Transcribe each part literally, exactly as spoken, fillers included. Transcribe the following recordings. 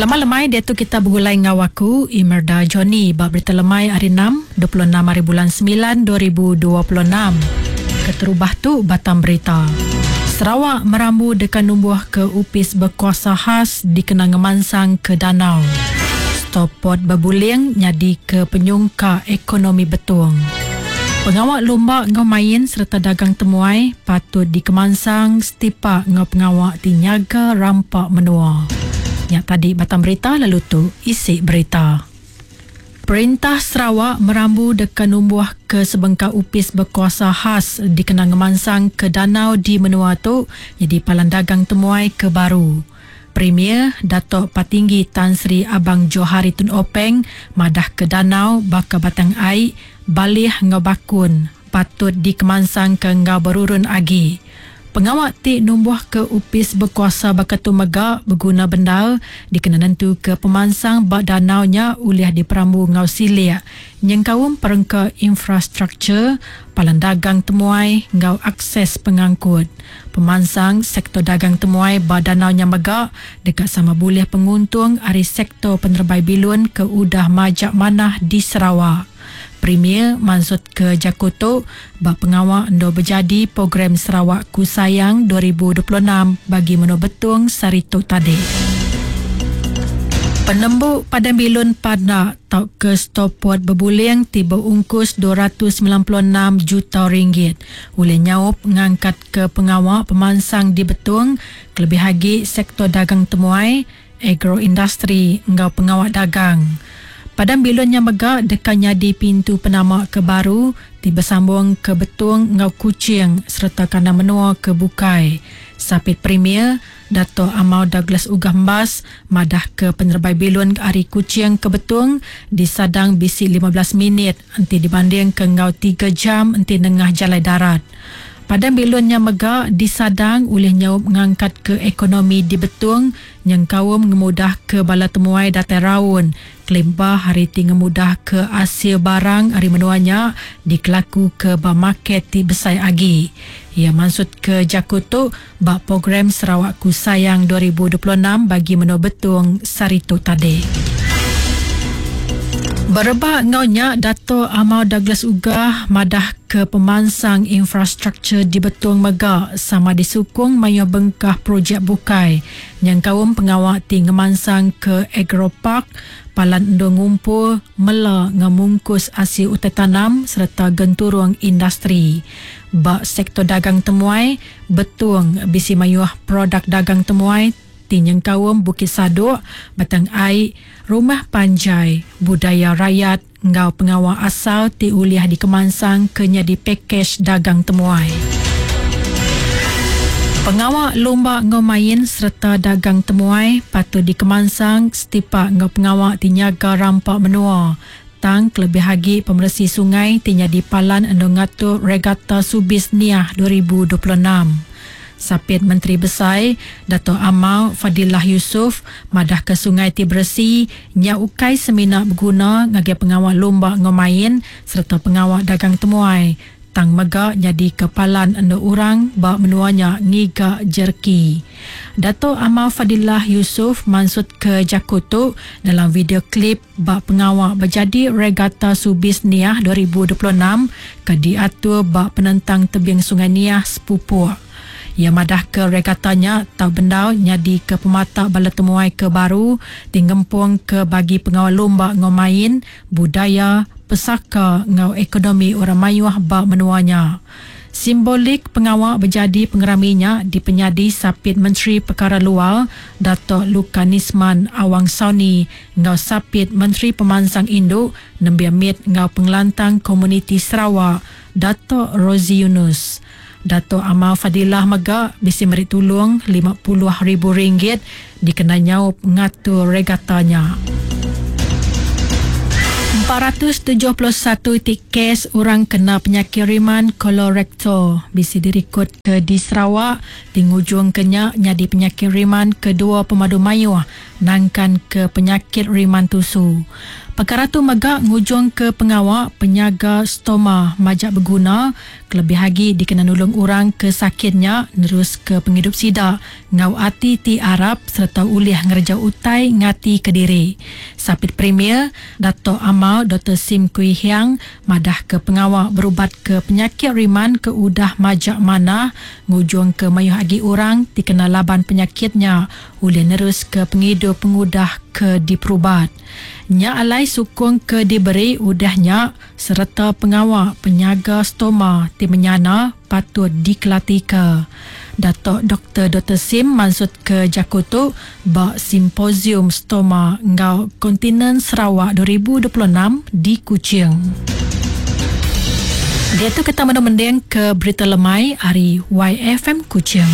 Selamat lemai, dia tu kita bergulai ngau aku Imerda Johnny bab berita lemai hari enam, dua puluh enam hari bulan sembilan dua ribu dua puluh enam. Keterubah tu batang berita. Sarawak merambu dekan numbuh ke upis berkuasa khas dikenang ngemansang ke danau. Stopot berbuling nyadi ke penyungka ekonomi betung. Pengawal lumba ngau main serta dagang temuai patut dikemansang setipak ngau pengawal tinyaga rampak menua. Yang tadi batang berita lalu tu isi berita. Perintah Sarawak merambu dekan numbuh ke sebengkah upis berkuasa khas dikenang ngemansang ke danau di menua tu jadi palan dagang temuai ke baru. Premier Datuk Patinggi Tan Sri Abang Johari Tun Openg madah ke danau baka batang air balih ngau bakun patut dikemansang ke ngau berurun agi. Pengawal ti numbuh ke upis berkuasa bakatu mega berguna bendar dikena nentu ke pemansang bak danaunya ulih diperambu ngau siliak nyengkaum perengka infrastruktur, palan dagang temuai ngau akses pengangkut. Pemansang sektor dagang temuai bak danaunya mega dekat sama boleh penguntung ari sektor penerbai bilun ke udah majak manah di Sarawak. Premier maksud ke Jakoto bak pengawal endo berjadi program Sarawak Ku Sayang dua ribu dua puluh enam bagi Menua Betung Saritu tadi. Penembuk Padang Bilun Panak tau ke stopot berbuling tiba ungkus dua ratus sembilan puluh enam juta ringgit. Oleh nyaup ngangkat ke pengawal pemansang di Betung, kelebih lagi sektor dagang temuai, agroindustri ngau pengawal dagang. Padang bilunnya mega dekannya di pintu penamak ke baru tiba sambung ke Betung ngau Kuching serta kandang menua ke Bukai. Sapit Premier Dato' Amau Douglas Uggah Embas madah ke penerbai bilun ari Kuching ke Betung disadang bisi lima belas minit enti dibanding ke ngau tiga jam enti nengah jalai darat. Padang bilunnya mega disadang oleh nyaup ngangkat ke ekonomi di Betung nyengkaum ngemudah ke bala temuai datai raun. Kelimpah hari ti ngemudah ke asil barang hari menuanya dikelaku ke ba market ti besai agi. Ia maksud ke Jakoto ba program Sarawak Ku Sayang dua ribu dua puluh enam bagi Menua Betung Saritu tadi. Berebak ngaunya Dato' Amau Douglas Uggah madah ke pemansang infrastruktur di Betung mega sama disukung mayu bengkah projek bukai nyengkaum pengawal ti ngemansang ke agropark palan endo ngumpul mela ngemungkus asil utai tanam serta genturung industri. Ba sektor dagang temuai Betung bisi mayuh produk dagang temuai ti nyengkaum Bukit Sadok, Batang Ai, Rumah Panjai, budaya rakyat ngau pengawal asal ti uliah dikemansang ke nyadi pakej dagang temuai. Pengawal lumba ngau main serta dagang temuai patut dikemansang setipak ngau pengawal ti nyaga rampak menua. Tang kelebih lagi pemersi sungai ti nyadi palan endo ngatur Regata Subis Niah dua ribu dua puluh enam. Sapit Menteri Besai Dato' Amau Fadillah Yusof madah ke sungai ti beresi nya ukai semina berguna ngagai pengawal lumba ngau main serta pengawal dagang temuai tang mega jadi kepalan endo orang ba menuanya ngiga jerki. Dato' Amau Fadillah Yusof maksud ke Jakoto dalam video klip ba pengawal berjadi Regata Subis Niah dua ribu dua puluh enam ke diatur ba penentang tebing Sungai Niah Sepupuk. Ia madah ke regatanya tau bendau nyadi ke pemata bala temuai ke baru tinggempung ke bagi pengawal lumba ngau main, budaya, pesaka ngau ekonomi orang mayuh ba menuanya. Simbolik pengawal berjadi pengeraminya dipenyadi Sapit Menteri Perkara Luar Dato' Lukanisman Awang Sauni ngau Sapit Menteri Pemansang Induk Nembiak Mit ngau Pengelantang Komuniti Sarawak Dato' Rozi Yunus. Dato' Amau Fadillah mega bisi meri tulung lima puluh ribu ringgit dikena nyaup ngatur regatanya. empat ratus tujuh puluh satu titik kes orang kena penyakit riman kolorektal bisi direkod ke di Sarawak di ngujung kenya nyadi penyakit riman kedua pemadu mayuh nangkan ke penyakit riman tusu. Perkara tu mega ngujung ke pengawak penyaga stoma majak berguna kelebih lagi dikena nulung orang ke sakitnya nerus ke penghidup sida ngau ati ti Arab serta ulih ngereja utai ngati ke diri. Sapit Premier Dato' Amal Doktor Sim Kui Hiang madah ke pengawak berubat ke penyakit riman ke udah majak mana ngujung ke mayuh agi orang ti kena laban penyakitnya ulih nerus ke penghidup pengudah ke diperubat. Nya alai sukung ke diberi udahnya serta pengawak penyaga stoma ti menyana patut dikelatika. Dato' Doktor Doktor Sim maksud ke Jakoto ba Simposium Stoma ngau Kontinen Sarawak dua ribu dua puluh enam di Kuching. Dia tu kita mending ke berita lemai hari Y F M Kuching.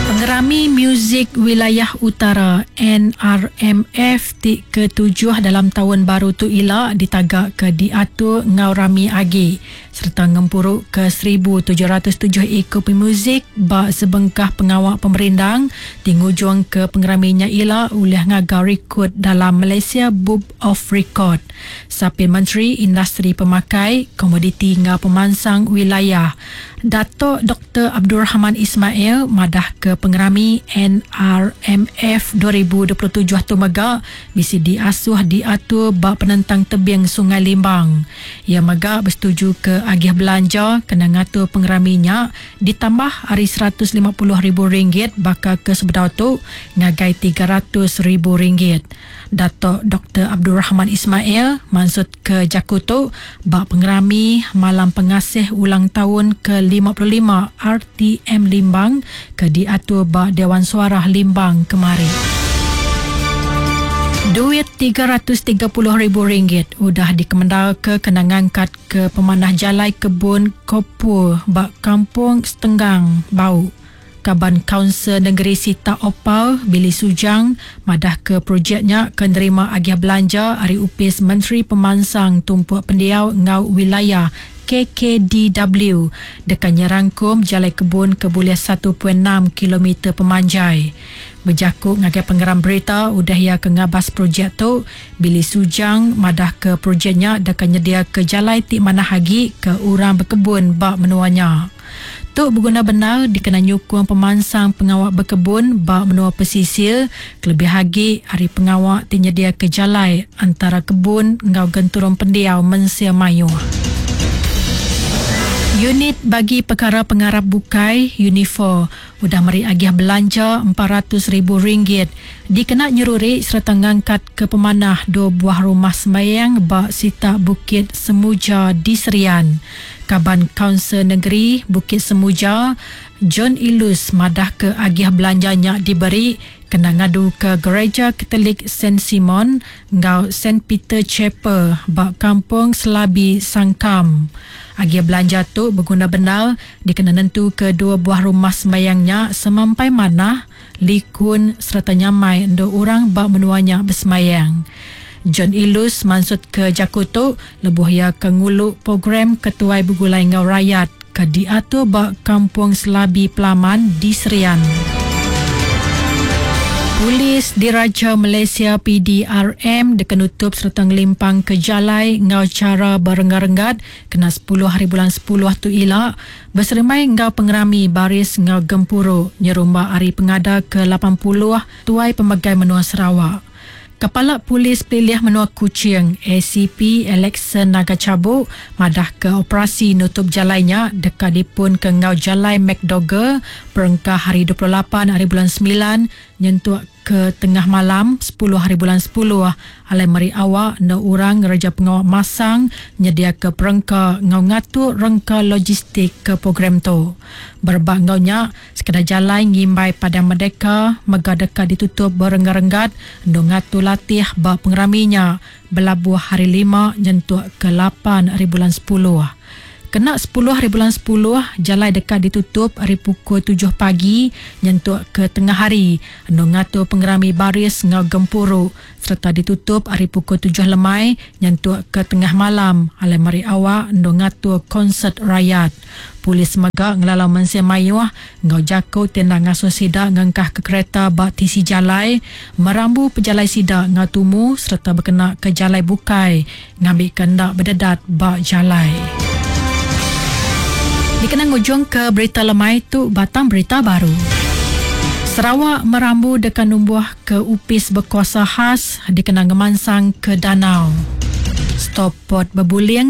Pengerami Muzik Wilayah Utara N R M F ti ketujuh dalam tahun baru tu ila ditagak ke diatur ngau rami agi serta ngempuruk ke seribu tujuh ratus tujuh ekor pemuzik ba sebengkah pengawak pemerindang ti ngujung ke pengeraminya ila ulih ngaga rekod dalam Malaysia Book of Record. Sapit Menteri Industri Pemakai, Komoditi ngau Pemansang Wilayah Dato' Doktor Abdul Rahman Ismail madah ke pengerami N R M F dua ribu dua puluh tujuh tu mega bisi diasuh diatur ba penentang tebing Sungai Limbang. Ia mega bersetuju ke agih belanja kena ngatur pengeraminya ditambah hari seratus lima puluh ribu ringgit bakal ke sebedau tu ngagai tiga ratus ribu ringgit. Dato' Doktor Abdul Rahman Ismail maksud ke Jakoto ba pengerami Malam Pengasih Ulang Tahun ke lima puluh lima R T M Limbang ke diatur ba Dewan Suarah Limbang kemari. Duit tiga ratus tiga puluh ribu ringgit udah dikemendal ke kena ngangkat ke pemanah jalai kebun Kopur ba Kampung Setenggang Bau. Kaban Kaunsil Negeri Sita Opal Billy Sujang madah ke projeknya ke nerima agih belanja ari Upis Menteri Pemansang Tumpuk Pendiau ngau Wilayah K K D W dekat nyerangkum jalai kebun ke boleh satu perpuluhan enam kilometer pemanjai. Berjakuk ngagai pengeram berita udah ia ke ngabas projek tu, Billy Sujang madah ke projeknya dekat nyedia ke jalai ti manah agi ke orang berkebun bak menuanya. Tu berguna benar dikena nyukung pemansang pengawak berkebun bak menua pesisir kelebih agi hari pengawak ti nyedia ke jalai antara kebun ngau genturung pendiau mensia mayuh. Unit bagi perkara pengarap bukai Unifor udah meri agih belanja empat ratus ribu ringgit dikena nyeruri serta ngangkat ke pemanah dua buah rumah sembayang bak Sita Bukit Semuja di Serian. Kaban Kaunsil Negeri Bukit Semuja John Ilus madah ke agih belanjanya diberi kena ngadu ke Gereja Katolik Saint Simon ngau Saint Peter Chapel bak Kampung Selabi Sangkam. Agih belanja tu berguna benar dikena nentu ke dua buah rumah sembayangnya semampai manah, likun serta nyamai endo orang bak menuanya bersemayang. John Ilus maksud ke Jakoto lebuh ia ke nguluk program Ketuai Begulai Ngau Rakyat ke diatur bak Kampung Selabi Pelaman di Serian. Polis Diraja Malaysia P D R M dekenutup serta ngelimpang ke jalai ngau cara berenggat-renggat kena sepuluh hari bulan sepuluh tu ila berseremai ngau pengerami baris ngau gempuru nyerumba hari pengada ke lapan puluh tuai pemegai menua Sarawak. Kepala Polis Pelilih Menua Kuching A C P Alexan Naga Cabuk madah ke operasi nutup jalainya dekat dipun ke ngau jalai McDougall perengkah hari dua puluh lapan hari bulan sembilan nyentuk ke tengah malam sepuluh hari bulan sepuluh alai meri awak no orang ngereja pengawak masang nyedia ke perengka ngau ngatur rengka logistik ke program tu. Berbak ngau nya sekadar jalai ngimbai Padang Merdeka mega dekat ditutup berenggat-renggat no ngatur latih ba pengeraminya belabuh hari lima nyentuk ke lapan hari bulan sepuluh. Kena sepuluh hari bulan sepuluh, jalai deka ditutup ari pukul tujuh pagi nyentuk ke tengah hari endur ngatur pengerami baris enggau gempuru sereta ditutup ari pukul tujuh lemai nyentuk ke tengah malam alai meri awak endur ngatur konsert rayat. Polis mega ngelalau mensia mayuh enggau jaku ti enda ngasuh sida ngengkahka kereta ba tisi jalai, merambu pejalai sida enggau tumu sereta bekena ke jalai bukai ngambika enda bededat ba jalai. Dikena ngujung ke berita lemai tu, batang berita baru. Sarawak merambu deka numbuh ke Upis Berkuasa Khas dikena ngemansang ke danau. Stop Port Bebuling